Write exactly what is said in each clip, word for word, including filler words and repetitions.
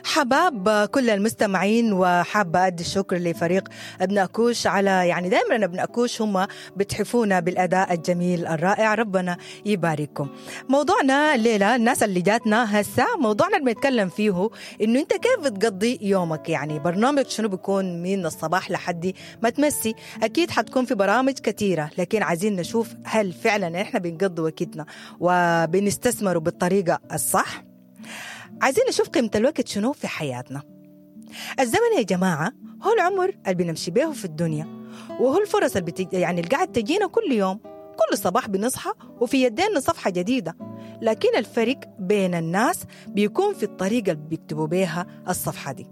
حباب كل المستمعين، وحابة أدي الشكر لفريق أبناء كوش على يعني دائما أبناء كوش هم بتحفونا بالأداء الجميل الرائع، ربنا يبارككم. موضوعنا الليلة الناس اللي جاتنا هسه، موضوعنا اللي بنتكلم فيه إنه أنت كيف بتقضي يومك، يعني برنامج شنو بيكون من الصباح لحد ما تمسي. أكيد حتكون في برامج كثيرة، لكن عايزين نشوف هل فعلا إحنا بنقضي وقتنا وبنستثمره بالطريقة الصح. عايزين نشوف قيمة الوقت شنو في حياتنا. الزمن يا جماعة هو العمر اللي بنمشي به في الدنيا، وهو الفرص اللي بتج... يعني اللي قاعد تجينا كل يوم. كل صباح بنصحى وفي يدينا صفحة جديدة، لكن الفرق بين الناس بيكون في الطريقة اللي بيكتبوا بيها الصفحة دي.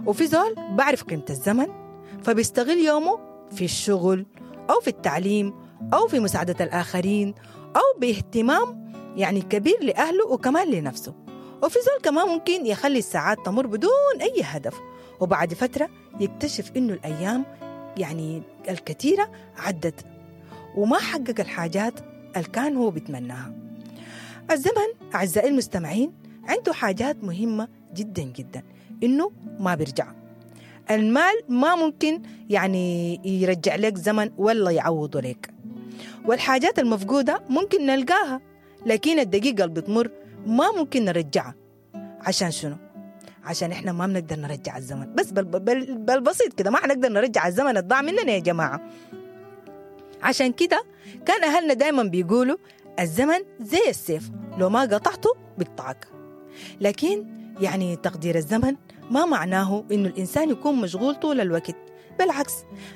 وفي زول بعرف قيمة الزمن فبيستغل يومه في الشغل أو في التعليم أو في مساعدة الآخرين أو باهتمام يعني كبير لأهله وكمان لنفسه. وفي زول كمان ممكن يخلي الساعات تمر بدون أي هدف، وبعد فترة يكتشف إنه الأيام يعني الكثيرة عدت وما حقق الحاجات اللي كان هو بيتمناها. الزمن أعزائي المستمعين عنده حاجات مهمة جدا جدا، إنه ما بيرجع. المال ما ممكن يعني يرجع لك زمن ولا يعوضه لك، والحاجات المفقودة ممكن نلقاها، لكن الدقيقة اللي بتمر ما ممكن نرجعها. عشان شنو؟ عشان احنا ما بنقدر نرجع الزمن، بس بال بال بالبسيط كده ما حنقدر نرجع الزمن الضاع مننا يا جماعة. عشان كده كان أهلنا دايما بيقولوا الزمن زي السيف، لو ما قطعته بيقطعك. لكن يعني تقدير الزمن ما معناه إنه الإنسان يكون مشغول طول الوقت، بالعكس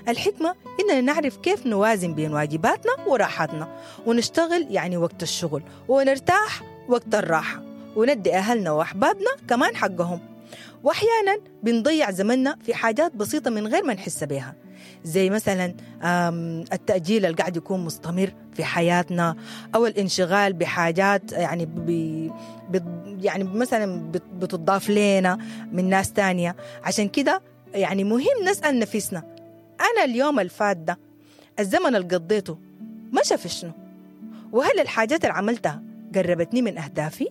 الحكمة إننا نعرف كيف نوازن بين واجباتنا وراحتنا، ونشتغل يعني وقت الشغل ونرتاح وقت الراحة، وندي أهلنا وأحبابنا كمان حقهم. وأحيانا بنضيع زمننا في حاجات بسيطة من غير ما نحس بها، زي مثلا التأجيل اللي قاعد يكون مستمر في حياتنا، أو الانشغال بحاجات يعني بي يعني مثلا بتضاف لنا من ناس تانية. عشان كده يعني مهم نسأل نفسنا، أنا اليوم الفات ده الزمن اللي قضيته مشى في شنو؟ وهل الحاجات اللي عملتها قربتني من أهدافي؟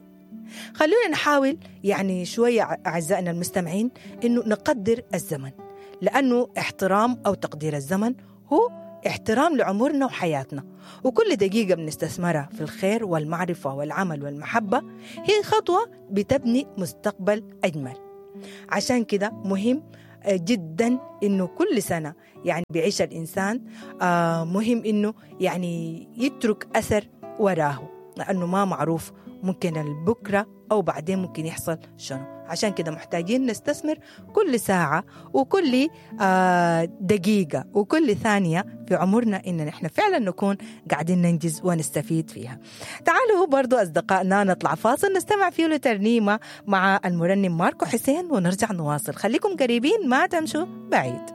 خلونا نحاول يعني شوية أعزائنا المستمعين إنه نقدر الزمن، لأنه احترام أو تقدير الزمن هو احترام لعمرنا وحياتنا، وكل دقيقة بنستثمرها في الخير والمعرفة والعمل والمحبة هي خطوة بتبني مستقبل أجمل. عشان كده مهم جدا إنه كل سنة يعني بيعيش الإنسان مهم إنه يعني يترك أثر وراه، لأنه ما معروف ممكن البكرة أو بعدين ممكن يحصل شنو. عشان كده محتاجين نستثمر كل ساعة وكل دقيقة وكل ثانية في عمرنا إن نحن فعلا نكون قاعدين ننجز ونستفيد فيها. تعالوا برضو أصدقائنا نطلع فاصل نستمع فيه لترنيمة مع المرنم ماركو حسين ونرجع نواصل. خليكم قريبين ما تمشوا بعيد.